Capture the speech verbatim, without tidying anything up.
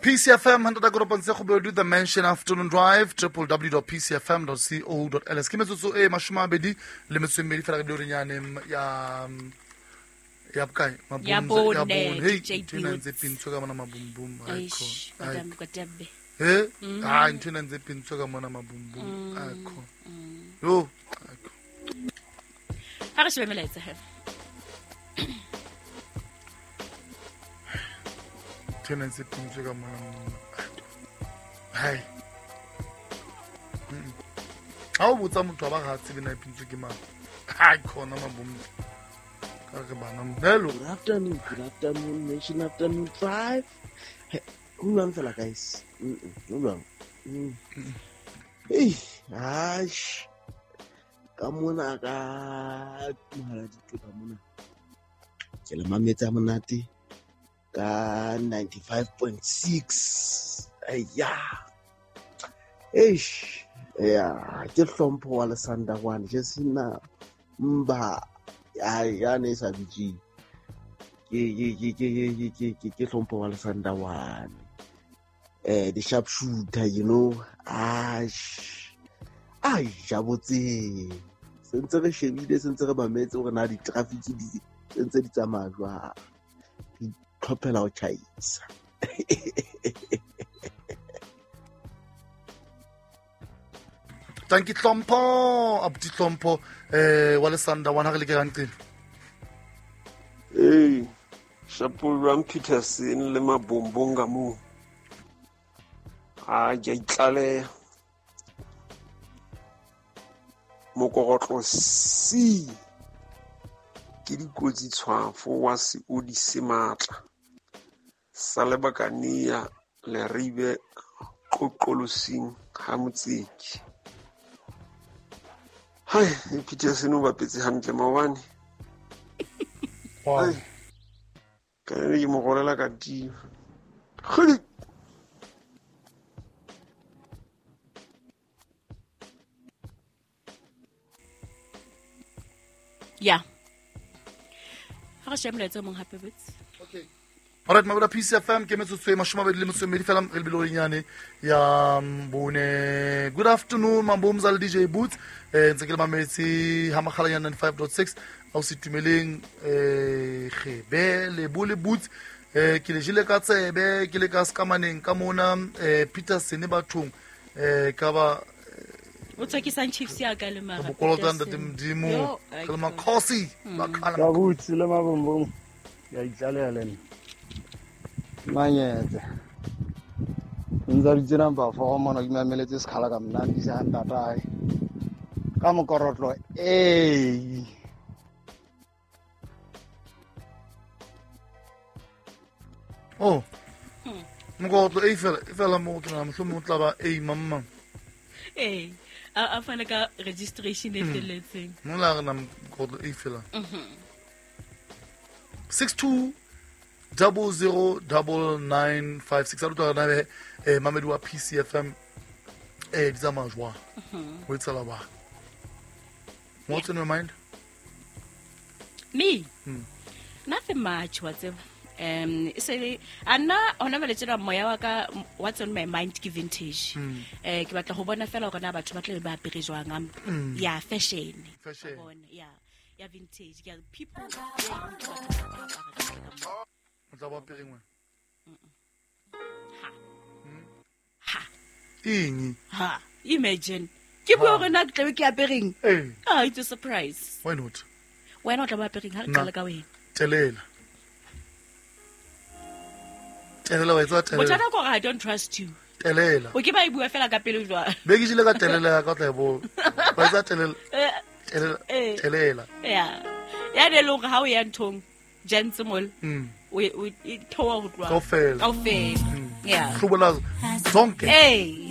P C F M hundred point seven the Mansion Afternoon Drive, w w w dot p c f m dot co dot l s. Ke metsotso e mashome a mabedi le metso e mmedi fela re bile nyane ya ya bokae ya bone. Hey, ntho ena ntse pintswe ka mona mabumbum. Haikho. Eh? Ah, ntho ena ntse pintswe ka mona mabumbum. Haikho. Yo, haikho. Ha re shebe melaetsa he. Ntho ena ntse pintswe ka mona. Hai. Ha o botsa motho ba ga tsebe na pintswe ke mang. Haikho na mabumbum. Hello. Good afternoon, good afternoon, Nation Afternoon Drive. Who runs fella, guys? Who run? Hey, ash. Come on, ka come on. Ke le mametsa monate ka ninety-five point six. Aya. Eish. Yeah, ke hlompho wa Lesanda one. Just na mba. Ai ya ne sa bitse ke ke ke ke ke ke ke hlompho wa Lesanda one eh the sharp shooter, you know. Ash ai ja botse sentse re shebile sentse re mametse hore na di traffic di sentse di tsamaya jwang, di tlhophela ho tjhaisa. Thank you Tlhompho, abuti Tlhompho eh wa Lesanda one ha re le ke ranteng. Hey, Shapo Ram Peterson le mabombong ka mo. A ke itlale mokorotlo C ke dikotsi tshwafo wa seodi se matla sa lebakania le ribe qoqolosing ha motseki. Hai, Peterson o bapetse hantle maobane. Wow. Ka ne ke mo golela ka tima. Kgodi. Yeah. Ha re shebe molaetsa o mong hape botse. Okay. All right, mabola P C F M ke metsotso e mashome a mabedi le metso e mmedi fela re lebile nyane ya bone. Good afternoon mabomza le D J Boots. Eh ntse ke le mametse ha makgala ya ninety-five point six au se tumeleng eh gebe le bole Boots eh ke le jile ka tsebe ke le ka skamaneng ka mona eh Peterson bathong eh ka ba o tswakisang Chiefs ya ka le mara bokolota ntate Modimo ke le makhosi ba khala ba Boots le mabombong ya itlaleha le nna manyetse ntse re tsena ba fo mona ke mameletse sekhala ka mnandi sa ntatae ka mokorotlo eh oh mokorotlo e fela e fela mo tla mohlomong o tla ba e mamma eh a fana ka registration e felletseng mo la rena mokorotlo e fela six two double zero double nine five six. A utlwa rena eh mamedi wa P C F M eh di tsamaya jwang ho etsala ba. What's in your mind? Me? Hmm. Nothing much whatever. Um se ana hona jwale tjena moya wa ka what's on my mind ke vintage. Eh ke batla ho bona fela hore na batho ba tle ba apere jwang ya fashion. Fashion. Ya ya vintage. Ya people. O tla ba apereng wena? Ha. Ha. Eng? Ha. Imagine. Ke bua hore na ke tlabe ke apereng? Eh. Ah, it's a surprise. Why not? Wena o tla ba apereng ha re qala ka wena. Telela. Telela wa etsa telela. Bothata ke hore I don't trust you. Telela. O ke ba e bua fela ka pele jwang. Be ke jile ka telela ka tla e bona. Wa etsa telela. Telela. Telela. Yeah. Ya ne le hore ha o ya nthong jantse mol. Mm. O e theoha ho tloha. Kaofela. Kaofela. Yeah. Hlobola zonke. Hey.